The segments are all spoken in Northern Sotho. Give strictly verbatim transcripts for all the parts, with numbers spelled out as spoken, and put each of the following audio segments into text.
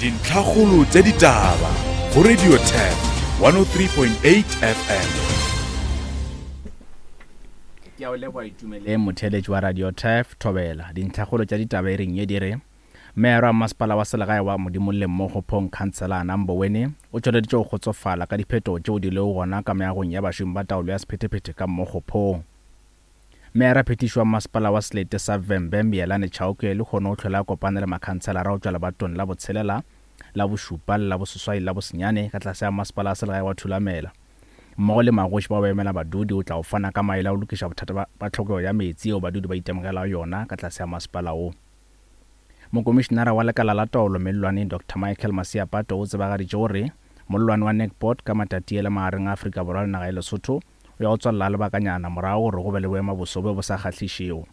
Dintlhakgolo tša ditaba go Radio Turf one oh three point eight F M. Ke a o leboga Itumeleng, motheeletši wa Radio Turf Thobela. Dintlhakgolo tša ditaba e reng ye di re Meyara wa masepala wa selegae wa Modimolle mmogo Phong Councillor Namboweni o tšweleditše go kgotsofala ka diphetogo tšeo di lego gona ka meagong ya bašomi ba taolo ya sephethephethe ka mmogo Phong. Meyara phetiši wa masepala wa selete sa Vhembe Miyelani Chauke le kgone o tlhola a kopane le makhanselara go tšwa lebatong la botshelela la bošupa le la boseswai la bosenyane ka tlase ya masepala wa selegae wa Thulamela. Mmogo le magoši bao ba emela badudi o tla o fana ka maele a go lokiša bothata ba tlhokego ya meetse yeo badudi ba itemogelago yona ka tlase ya masepala wo. Mokomišenara wa lekala la taolo mellwaneng Doctor Michael Masiapato o tsebagaditše gore mollwane wa Nekport ka Matatiele magareng a Afrika Borwa le naga ya Lesotho o ya go tswalela lebakanyana morago gore go be le boemaboso bjo bo sa kgahlišego.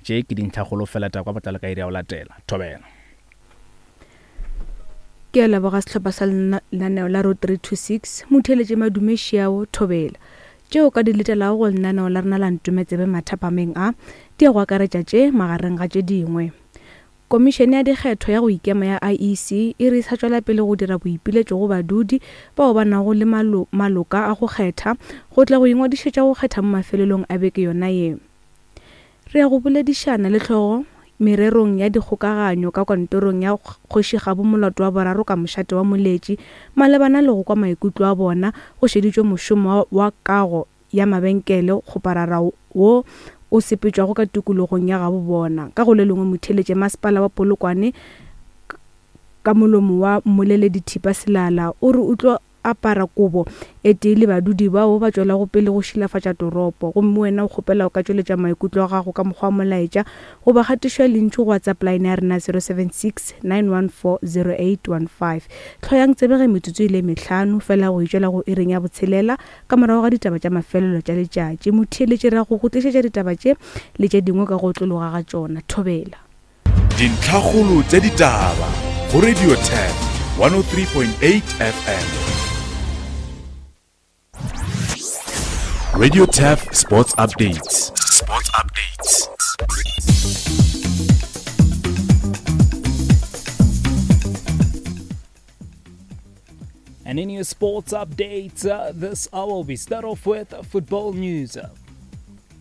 Tše ke dintlhakgolo fela taba kwa botlalo ka iri ya go latela. Thobela. Ke a leboga sehlopha sa lenaneo la Road three two six, motheeletše Madume Šiao Thobela. Tšeo ka di letelago go lenaneo la rena la Ntometsebe mathapameng a, di ya go akaretša tše magareng ga tše dingwe. Komišene ya dikgetho ya go ikema ya I E C e re sa tšwela pele go dira boipiletšo go badudi bao ba nago le malo, maloka a go kgetha go tla go ingwadišetša go kgetha mo mafelelong a beke yona ye. Re ya go boledišana le hlogo mererong ya dikgokaganyo ka kantorong ya Kgoši Kgabo Molato wa boraro ka mošate wa Moletši malebana le go kwa maikutlo a bona go šeditšwe mošomo wa kago ya mabenkele kgoparara wo o sepetšwago ka tikologong ya gabo bona. Ka go le lengwe motheeletše masepala wa Polokwane ka molomo wa mmoleledi Thipa Selala o re o tlo apara kobo e tee le badudi bao ba tšwelago pele go šilafatša toropo, gomme wena o kgopela o ka tšweletša maikutlo a gago ka mokgwa wa molaetša goba kgatišo ya lentšu go WhatsApp line ya rena zero seven six nine one four zero eight one five. Hloyang tsebe ge metsotso e le mehlano fela go itšwela go iring ya botshelela ka morago ga ditaba tša mafelelo tša letšatši. Motheeletši ra go go tlišetša ditaba tše le tše dingwe ka go otlologa ga tšona. Thobela. Dintlhakgolo tša ditaba go Radio Turf one oh three point eight F M. Radio Turf Sports Updates. Sports Updates. And in your sports updates uh, this hour, we start off with football news.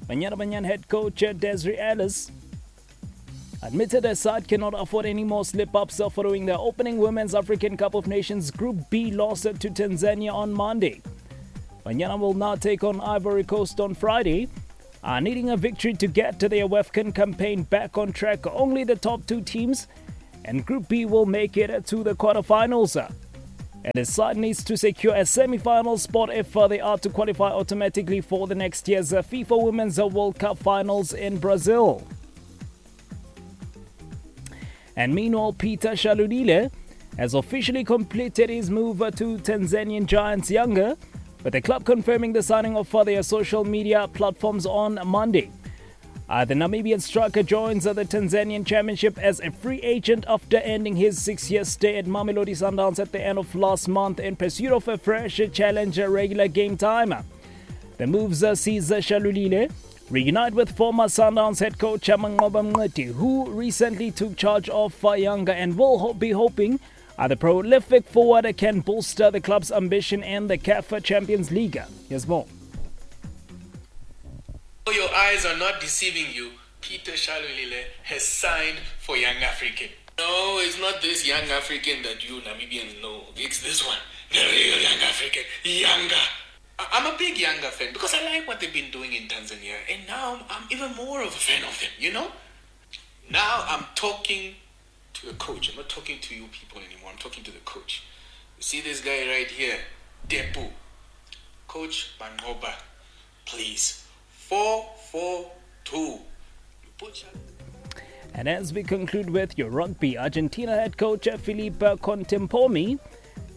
Banyana Banyana head coach Desiree Ellis admitted her side cannot afford any more slip-ups following their opening Women's African Cup of Nations Group B loss to Tanzania on Monday. Banyana will now take on Ivory Coast on Friday, uh, needing a victory to get to their WAFCON campaign back on track. Only the top two teams and Group B will make it to the quarterfinals. And the side needs to secure a semi-final spot if they are to qualify automatically for the next year's FIFA Women's World Cup finals in Brazil. And meanwhile, Peter Shalulile has officially completed his move to Tanzanian giants Yanga, with the club confirming the signing of their social media platforms on Monday. Uh, the Namibian striker joins the Tanzanian Championship as a free agent after ending his six-year stay at Mamelodi Sundowns at the end of last month in pursuit of a fresh challenge regular game time. The moves sees Shalulile reunite with former Sundowns head coach Manqoba Mngqithi, who recently took charge of Yanga and will be hoping uh, the prolific forward can bolster the club's ambition in the C A F Champions League. Here's more. Your eyes are not deceiving you. Peter Shalulile has signed for Young African. No, it's not this Young African that you Namibians know. It's this one, the real Young African, Yanga. I'm a big Yanga fan because I like what they've been doing in Tanzania, and now I'm, I'm even more of a fan of them, you know? Now I'm talking to the coach. I'm not talking to you people anymore. I'm talking to the coach. You see this guy right here, Depu. Coach Manqoba, please. Four, four, two. You put And as we conclude with your rugby, Argentina head coach Felipe Contempomi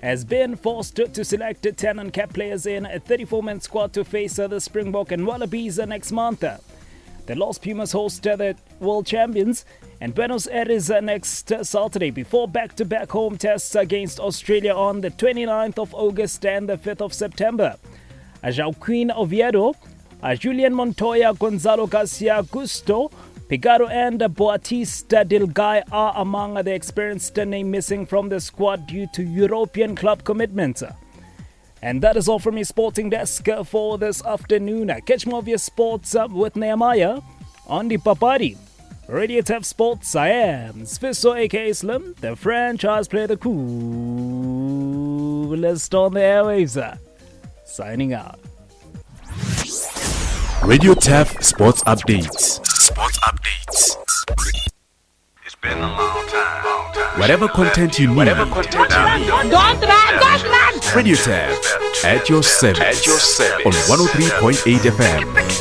has been forced to select ten uncapped players in a thirty-four-man squad to face the Springbok and Wallabies next month. The Los Pumas host the World Champions in Buenos Aires next Saturday before back-to-back home tests against Australia on the twenty-ninth of August and the fifth of September. Joaquin Oviedo, Julian Montoya, Gonzalo Garcia Gusto, Picado and Bautista Delguy are among the experienced name missing from the squad due to European club commitments. And that is all from me, Sporting Desk, for this afternoon. Catch more of your sports with Nehemiah on the Papadi. Radio Turf Sports, I am Sfiso aka Slim, the franchise player, the coolest on the airwaves. Signing out. Radio Turf Sports Updates. Sports Updates. It's been a long time. Long time. Whatever content you need. Whatever content you need. Don't run, don't run! Radio Turf at your service. At your service. On one oh three point eight F M.